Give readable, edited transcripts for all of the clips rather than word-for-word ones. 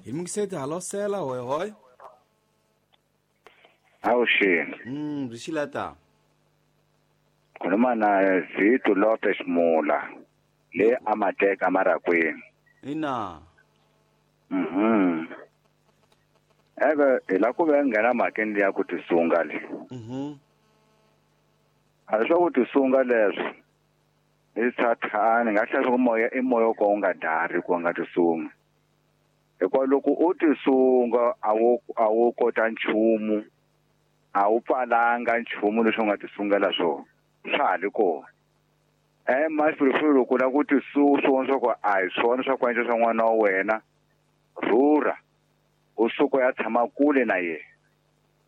Hi mungiseti halosela hoy hoy. Awuxini. Byi xilata. Khuluma na Zito Lopez Mula le amateka marakwini. Ina. Ebe hi la ku ve nghena mhakeni liya ku tisunga le. A leswaku ku tisunga leswi i sathani nga hlaya ku moya i moya wo ka wu nga dari ku nga tisunga. Hikuva loko u tisunga a wu kota nchumu, a wu pfalanga nchumu leswi u nga tisungela swona, swa ha ri kona. Mahlweni loko u lava ku tisunga swi vona swa ku a hi swona swa ku endla swa n'wana wa wena, rhurha u suka u ya tshama kule na yena.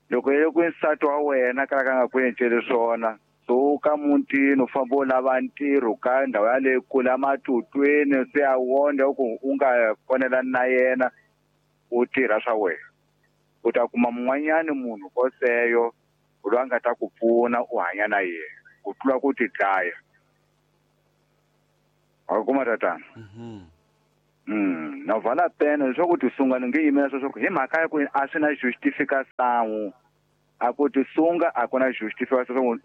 Loko yi ri ku nsati wa wena ka ka nga ku enceli swona, suka mutini u famba u lava ntirho ka ndhawu yaleyo kule ematutwini se a wondla ku u nga konelani na yena, u tirha swa wena. U ta kuma mun'wanyani munhu koseyo loyi a nga ta ku pfuna u hanya na yena ku tlula ku ti dlaya. Wa kuma tatana? Na vala pena leswaku tisunga ni nge yimela sweswo hi mhaka ya ku a swi na justification. A ku tisunga a ku na justification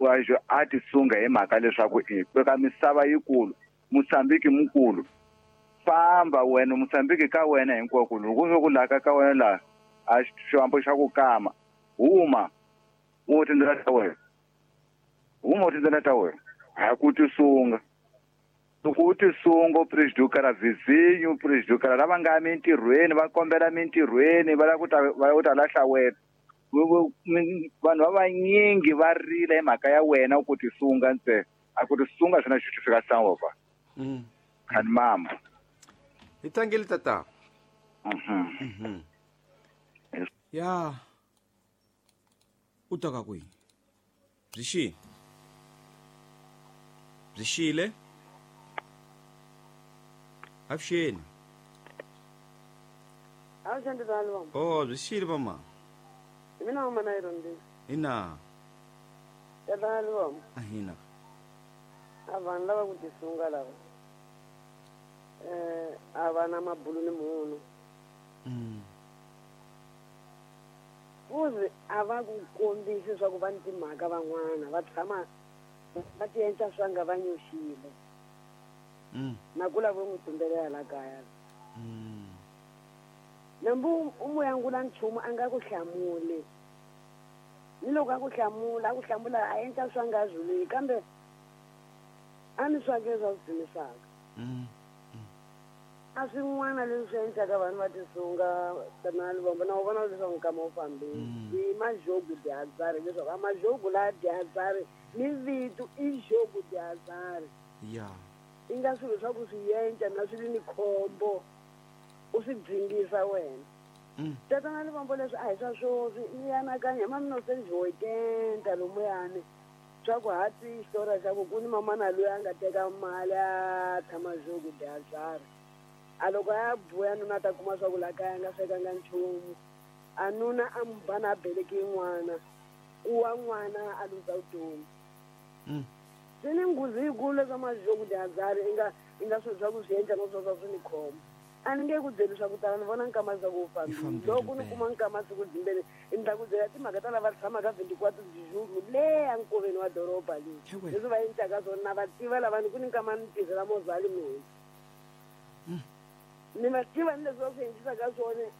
a tisunga hi mhaka leswaku i ka misava yikulu, Mozambique mukulu. Famba wena Mozambique ka wena hinkwako loko swo ku laka ka wena laha a xihambo xa ku kama, huma u tindlela ta wena. Huma u tindlela ta wena. Ha ku tisunga. Loko u tisunga u prejudica vizinho, u prejudica lava nga mintirhweni, va kombela mintirhweni, va lava ku ta lahla wena. Vanhu va vanyingi va rila hi mhaka ya wena ku tisunga ntsena. A ku tisunga swi na justification papa. Khani mama. Hi tlangeli tata. Ya. U ta ka kwihi? Byi xile. Byi xile. Avuxeni. Avuxeni tata Lomba. Oh, byi xile mama. Hi mina mama na Irondi. Ina. Tata Lomba. Ahina. A vanhu lava ku tisunga lava. A va na mabulu ni munhu. Fuzi a va ku kombisi swa ku va ni timhaka van'wana va tshama va ti endla swa nga va nyoxile. Na ku lava n'wi tumbelela la kaya. Nambu u mu yangula nchumu a nga ku hlamuli. Ni loko a ku hlamula a endla swa nga zulwi kambe a ni swa ke swa swi dzunisaka. A swin'wana leswi swi endlaka vanhu va tisunga tana Lubombo na u vona leswaku nkama wu fambile. I majogu diazari leswaku a majogu la diazari ni vito i jogu diazari. Ya. I nga swilo swa ku swi endla na swi ri ni khombo u swi dzingisa wena. Tatana Lubombo leswi a hi swa swoswi ni anakanya hi ma 1980 lomuyani swa ku ha twi xitori xa ku ku ni mamana loyi a nga teka mali a tshama jogu diazari. A loko a buya nuna ta kuma swa ku la kaya nga swekanga nchumu. A nuna a mu ba na beleki yin'wana, ku wa n'wana a luza vutomi. Swi ni nghozi yikulu leswa majogu diazari i nga swilo swa ku swi endla no swa swi ni khombo. A ni nge ku byeli swa ku tala ni vona nkama swa ku wu fambile. Loko ni kuma nkama siku dzimbeni ni ta ku byela timhaka ta lava tshamaka 24 de le a nkoveni wa doroba leyi. Leswi va endlaka swona na va tiva lava ni ku ni nkama ni tirhela mozali mina. Ni va tiva ni leswi va swi endlisaka swona.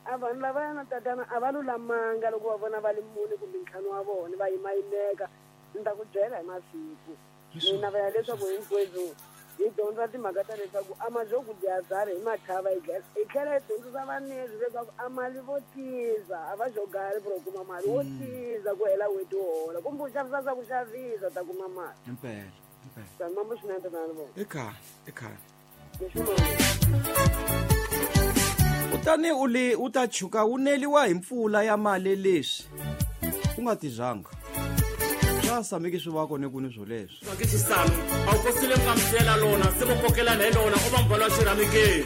A vanhu lavaya na tatana a va lulamanga loko va vona va li mune kumbe ntlhanu wa vona va yimayimeka. Ni ta ku byela hi masiku. Ni navela leswaku hinkwenu hi dyondza timhaka ta leswaku a majogu diazari hi machava hi tlhela hi dyondzisa vanezi leswaku a mali vo tiza a va jogari ku kuma mali wo tiza ku hela n'hweti wo hola kumbe u xavisa swa ku xavisa ta kuma mali. Impela. Sanibona swinene tatana Lubombo. Ekhaya. Kutani u ta chuka u neliwa hi mpfula ya mali leswi u nga tizanga. Swa sameki swi va kona ku ni swo leswi. Ke xisano a wu kosile nkamusela lona se vo kokelana hi lona u va mbala xirhamikeni.